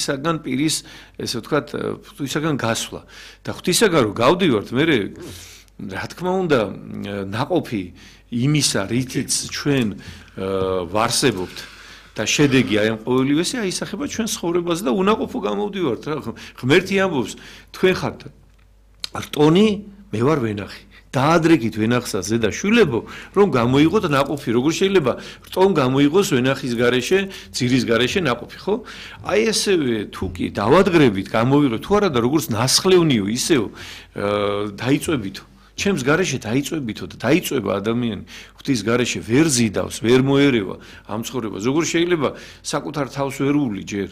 ღვთისაგან პირის ესე ვთქვათ ღვთისაგან გასვლა და ღვთისაგან რო გავდივართ მე რა თქმა უნდა ნაყოფი იმისა რითიც ჩვენ ვარსებობთ და შედეგი აი ამ ყოველივესე აისახება ჩვენ ცხოვრებაზე და უნაყოფო გამოვდივართ რა ღმერთი ამბობს თქვენ ხართ რტონი მე ვარ ვენახი დაადრეკით ვენახსა ზედა შვილებო რომ გამოიღოთ ნაყოფი როგორ შეიძლება რტომ გამოიღოს ვენახის გარეშე ძირის გარეშე ნაყოფი ხო აი ესევე თუ კი დავადღრებით გამოვიღოთ თუ არა და როგორც ნასხლევნიო ისევ დაიწვებითო ჩემს გარეშე დაიწვებითო და დაიწვება ადამიანი ღვთის გარეშე ვერ ზიდავს ვერ მოერევა ამ ცხოვრებას როგორ შეიძლება საკუთარ თავს ვერ უვლი ჯერ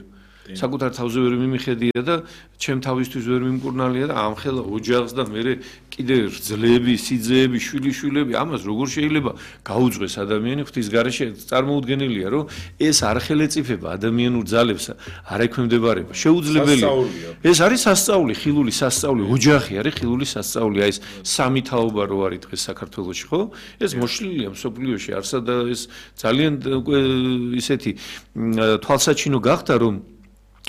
საკუთარ თავზე ვერ მიმიხედია და ჩემ თავისთვის ვერ მიმკურნალია და ამხელა ოჯახს და მე კიდე ძლები, სიძეები, შვილიშვილები, ამას როგორ შეიძლება გაუძღვეს ადამიანი ღვთის გარეშე წარმოუდგენელია, რომ ეს არ ხელეწიფება ადამიანურ ძალებს, არ ექვემდებარება. შეუძლებელია. ეს არის სასწაული, ხილული სასწაული, ოჯახი არის ხილული სასწაული, აი ეს სამი თაობა რო არის დღეს საქართველოში, ხო? ეს მოშლილია მსოფლიოში, არსა და ეს ძალიან ისეთი თვალსაჩინო გახდა, რომ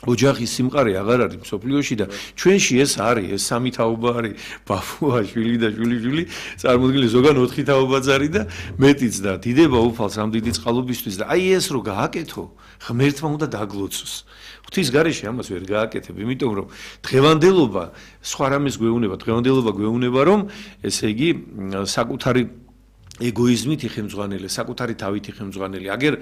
ოჯახის სიმყარე აღარ არის მსოფლიოში და ჩვენში ეს არის ეს სამი თაობა არის ბაბუა შვილი და შვილი წარმოუდგენელი ზოგან 4 თაობაც არის და მეტიც და დიდება უფალს ამ დიდი წყალობისთვის და აი ეს რო გააკეთო ღმერთმა უნდა დაგლოცოს ღვთის გარეშე ამას ვერ გააკეთებ იმიტომ რომ დღევანდელობა სხვა რამეს გვეუბნება დღევანდელობა გვეუბნება რომ ესე იგი საკუთარი ეგოიზმით იხემძღვანელე, საკუთარი თავით იხემძღვანელე. აგერ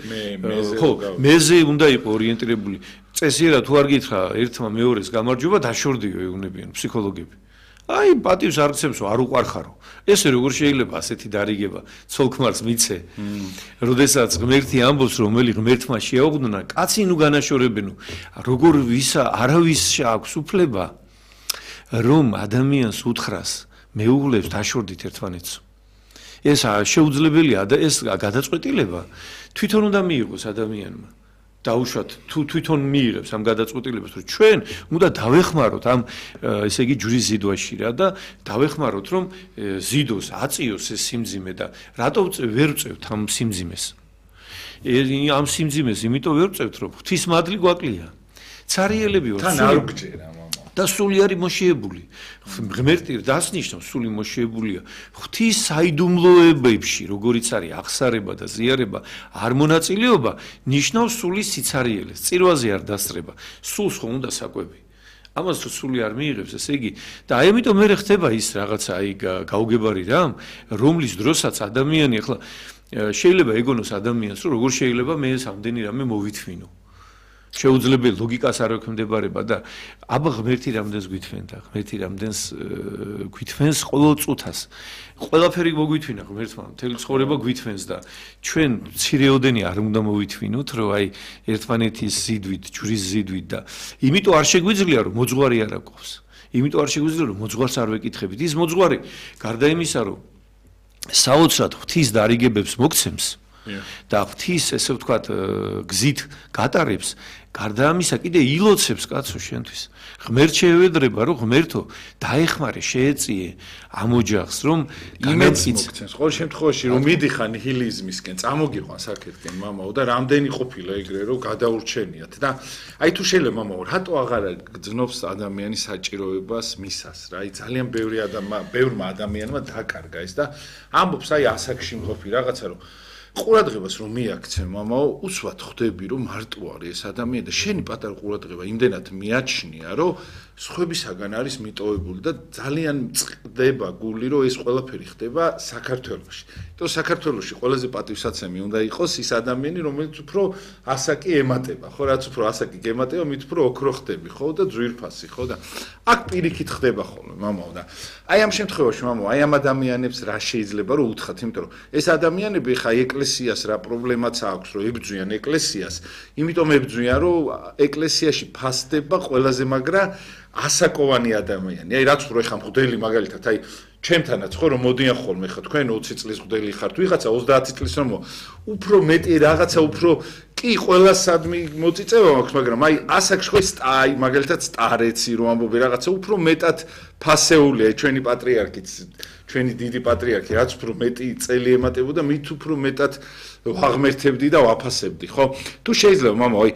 ხო, მეზე უნდა იყო ორიენტირებული. წესიერად თუ არ გითხრა ერთმა მეორეს გამარჯვება დაშორდიო ეუბნებიან ფსიქოლოგები. აი, პატივს არ გცემსო, არ უყარხარო. ესე როგორ შეიძლება ასეთი დარიგება ცოლ-ქმარს მიცე? როდესაც ღმერთი ამბობს, რომელი ღმერთმა შეაუღდნა, კაცი ნუ განაშორებენო. როგორ ვისა არავის აქვს უფლება რომ ადამიანს უთხრას მეუღლებს დაშორდით ერთმანეთს. ეს შეუძლებელია და ეს გადაწყვეტილება თვითონ უნდა მიიღოს ადამიანმა. დაუშვათ თუ თვითონ მიიღებს ამ გადაწყვეტილებას, რომ ჩვენ უნდა დავეხმაროთ ამ ესე იგი ჯვრის ზიდვაში რა და დავეხმაროთ რომ ზიდოს აწიოს ეს სიმძიმე და რატო ვერ ვწევთ ამ სიმძიმეს? ამ სიმძიმეს იმიტომ ვერ ვწევთ რომ ღვთის მადლი გვაკლია. ცარიელები ვართ. თან არ გჯერა და სული არის მოშიებული. ღმერთი დასნიშნავს სული მოშიებულია. ღვთის საიდუმლოებებში, როგორიც არის აღსარება და ზიარება, არ მონაწილეობა, ნიშნავს სულის სიცარიელეს. წირვაზე არ დასწრება. სულს ხომ უნდა საკვები. ამას თუ სული არ მიიღებს, ესე იგი და აი ამიტომ მე ხდება ის რაღაცა აი გაუგებარი რამ, რომლის დროსაც ადამიანი ახლა შეიძლება ეგონოს ადამიანს, რომ როგორ შეიძლება მე ეს ამდენი რამე მოვითმინო. შეუძლებელი ლოგიკას არ ექვემდებარება და აბა ღმერთი რამდენს გვითვენდა ღმერთი რამდენს გვითვენს ყოველ წუთას ყველაფერი მოგვითვინა ღმერთმა მთელი ცხოვრება გვითვენს და ჩვენ მცირეოდენი არ უნდა მოვითვინოთ რომ აი ერთმანეთის ზიდვით ჯვრის ზიდვით და იმიტომ არ შეგვიძლია რომ მოძღვარი არ აქვს იმიტომ არ შეგვიძლია რომ მოძღვარს არ ვეკითხებით ის მოძღვარი გარდა იმისა რომ საოცრად ღვთის დარიგებებს მოგცემს და ღვთის ესე ვთქვათ გზით გატარებს გარდა ამისა კიდე ილოცებს კაცო შენთვის ღმერთ შეევედრება რომ ღმერთო დაეხმარე შეეწიე ამ ოჯახს რომ იმედს მოგცემს ყოველ შემთხვევაში რომ მიდიხარ ნიჰილიზმისკენ წამოგიყვანს აქეთკენ მამაო და რამდენი ყოფილა ეგრე რომ გადაურჩენიათ და აი თუ შეიძლება მამაო რატო აღარ გძნობს ადამიანის საჭიროებას მისას რა აი ძალიან ბევრმა ადამიანმა დაკარგა ეს და ამბობს აი ასაკში მყოფი რაღაცა რომ ყურადღებას რომ მიაქცე მამაო უსვათ ხვდები რომ მარტო არის ეს ადამიანი და შენი პატარა ყურადღება იმდენად მიაჩნია რომ სხვებისაგან არის მიტოვებული და ძალიან წდება გული რომ ეს ყველაფერი ხდება საქართველოში. იმიტომ საქართველოში ყველაზე პატივსაცემი უნდა იყოს ის ადამიანი რომელიც უფრო ასაკი ემატება ხო რაც უფრო ასაკი გემატება მით უფრო ოქრო ხდები ხო და ძვირფასი ხო და აქ პირიქით ხდება ხოლმე მამაო და აი ამ შემთხვევაში მამაო აი ამ ადამიანებს რა შეიძლება რომ უთხრათ იმიტომ რომ ეს ადამიანები ხა ეკლესიას რა პრობლემაც აქვს რომ ებძვიან ეკლესიას იმიტომ ებძვიან რომ ეკლესიაში ფასდება ყველაზე მაგრა ასაკოვანი ადამიანი. აი რაც უფრო ეხა მღვდელი მაგალითად აი ჩემთანაც ხო რომ მოდიან ხოლმე ხა თქვენ 20 წლის მღვდელი ხართ ვიღაცა 30 წლის რომ უფრო მეტი რაღაცა უფრო კი ყველა სადმი მოწიწევა მაქვს მაგრამ აი ასაკში ხო აი მაგალითად სტარეცი რომ ამბობი რაღაცა უფრო მეტად ფასეულია ჩვენი პატრიარქიც ჩვენი დიდი პატრიარქი რაც უფრო მეტი წელი ემატებოდა მით უფრო მეტად ვაღმერთებდი და ვაფასებდი ხო თუ შეიძლება მამაო აი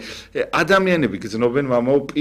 ადამიანები გძნობენ მამაო